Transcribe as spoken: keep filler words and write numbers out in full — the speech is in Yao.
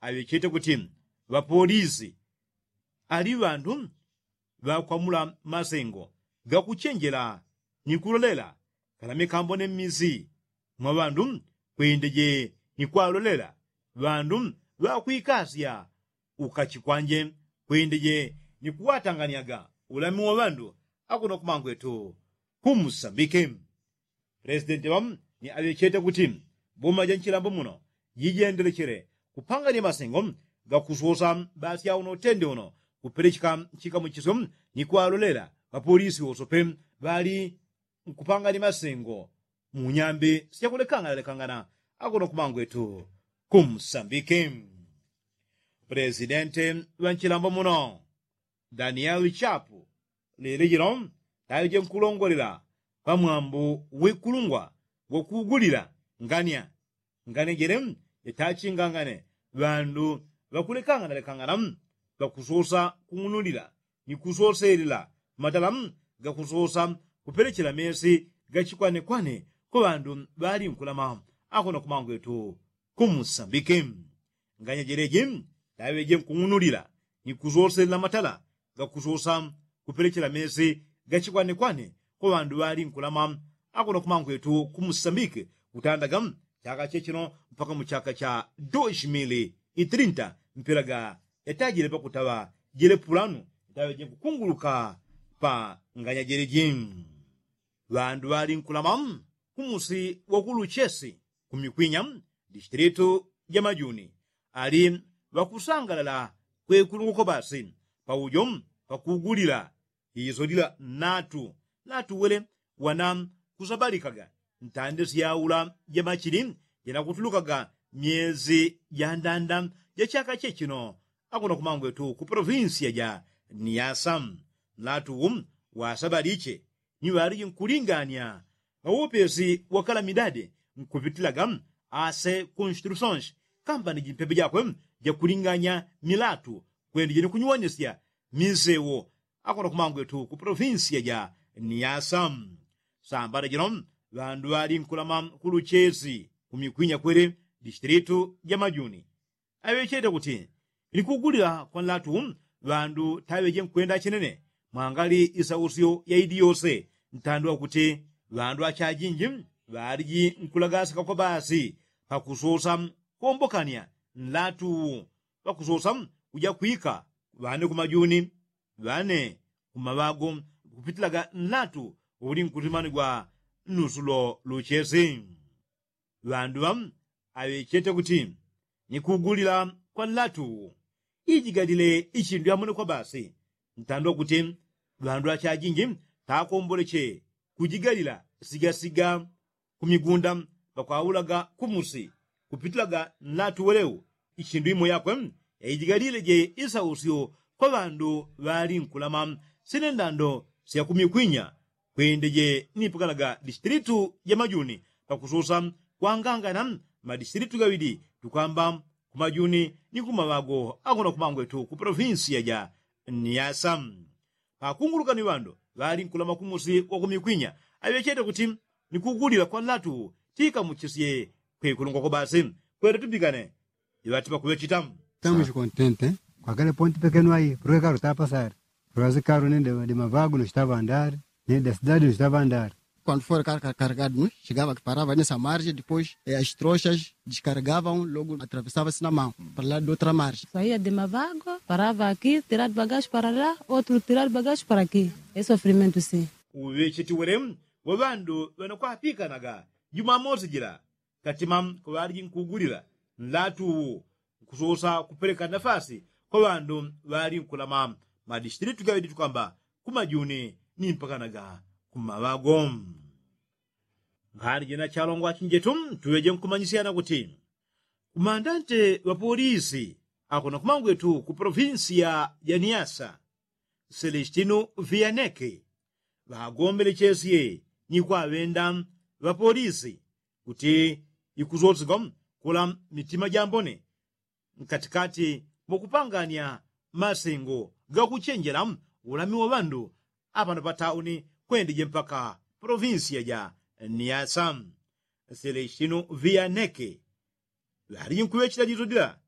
aŵechete kuti ŵapolisi ali ŵandu ŵakwamula masengo gakuchenjela ni kulolela kana mikambo ne mmisi mwa ŵandu kwendeje ni kwalolela ŵandu ŵakwikasya ukachikwanje kwendeje ni kuwatanganyaga ulami wa ŵandu akuno kumangwetu kumusambike. Pulesidenti ŵa ni aŵechete kuti boma ja nchilambo muno jijendelechele kupangania masengo gakusosa basi auno utende uno kupelecheka nchikamuchisyo ni kwalolela ŵapolisi wosope ŵali nkupangania masengo mu nyambi syakulekanganalekangana akuno kumangwetu kumusambike. Pulesidenti ŵa nchilambo muno danieli chapu lili jino taŵeje nkulongolela pamwambu wikulungwa gwakugulila ngania ngania jele jatachingangane ŵandu ŵakulekanganalekangana ŵakusosa kung'unulila ni kusoselela matala gakusosa kupelechela mesi gachikwanekwane kwa ŵandu ŵali nkulama akuno kumangwetu kumusambike. Nganya jeleji taŵeje nkung'unulila ni kusoselela matala gakusosa kupelechela mesi gachikwanekwane kwa ŵandu ŵali nkulama akuno kumangwetu kumusambike kutandaga chaka chechino mpaka mu chaka cha dos mili itrinta mpelaga yatajile pakutaŵa jele pulanu taŵeje nkukunguluka pa nganya jeleji. Ŵandu ŵali nkulama kumusi wakuluchesi kumikwinya distilitu ja majuni ali ŵakusangalala kwekulungoko basi paujo pakugulila iso lila natu natu wele wana kusabalikaga ntande syaula jamachili janakutulukaga myezi jandanda jachaka chechino akuno kumangwetu ku polovinsiya ja niyasa. Nlatu wasabaliche ni ŵaliji nkulingania ŵaupesi wa kalamidadi nkupitilaga ase konstitusyonsi kamba ni jimpepe jakwe jakulinganya milatu kwendije ni kunyuwanisya minsewo akuno kumangwetu ku polovinsiya ja niyasa. Sambala jino ŵandu ŵali nkulama kuluchesi kumikwinya kwele distilitu ja majuni aŵechete kuti ni kugulila kwa nlatu ŵandu taŵeje nkwenda chinene mwangali isausyo ya idi yose ntandwa kuti ŵandu achajinji ŵaliji nkulagasika kwa basi pakusosa kuombokania nlatu ŵakusosa kuja kwika ŵane kumajuni ŵane kumaŵago kupitilaga nlatu uli nkutimanigwa nusu lo luchesi. Ŵandu ŵa aŵechete kuti ni kugulila kwa nlatu uwu ijigalile ichindu yamonekwa basi ntandwa kuti ŵandu achajinji takomboleche kujigalila sigasiga kumigunda ŵakwaulaga kumusi kupitilaga nlatu welewu ichindu imo yakwe yaijigalileje isausyo kwa ŵandu ŵali nkulama sine ndando syakumikwinya kwendeje nipukanaga distilitu ja majuni pakususa kwangangana madistilitu gaŵidi tukwamba kumajuni ni kumaŵago akuno kumangwetu ku polovinsiya ja niyasa. Pakunguluka ni ŵandu ŵali nkulama kumusi wakumikwinya aŵechete kuti ni kugulila kwa nlatu tikamuchisye kwekulungwa kwa basi kwete tupikane iŵati pakuŵechita. Tamuchi kontente kwakale ponti pekenu ayi purwekaru tapasari purwazi karu nende de maŵagu no chitaŵandari nende de sidadi no chitaŵandari. Kwandu fore kari kari karigadu no chigava kiparava nesa marje dipois e astroshas diskarigava un logu atravesava sina mau paraladi dotra marje. Saia de maŵagu parava aki tiradi bagaxi parala otru tiradi bagaxi paraki e sofrimentu si. Uŵecheti wele wa ŵandu ŵanakwapikanaga jumamosi jila katima kuŵaliji nkugulila nlatu uwu nkususa kupeleka nafasi kwa ŵandu ŵali nkulama madistilitu gaŵidi tukwamba kumajuni ni mpakanaga kumaŵago. Nkhani jina chalongwa chinjetu tuŵeje nkumanyisyana kuti kumandante ŵapolisi akuno kumangwetu ku polovinsiya ja niyasa selestino viyaneke ŵagombelechesye ni kwaŵenda ŵapolisi kuti ikusosegwa kula mitima jambone nkatikati mwa kupangania masengo gakuchenjela ulami wa ŵandu apano patauni kwendeje mpaka polovinsiya ja niyasa. Selestino viyaneke ŵaliji nkuŵechela liso dila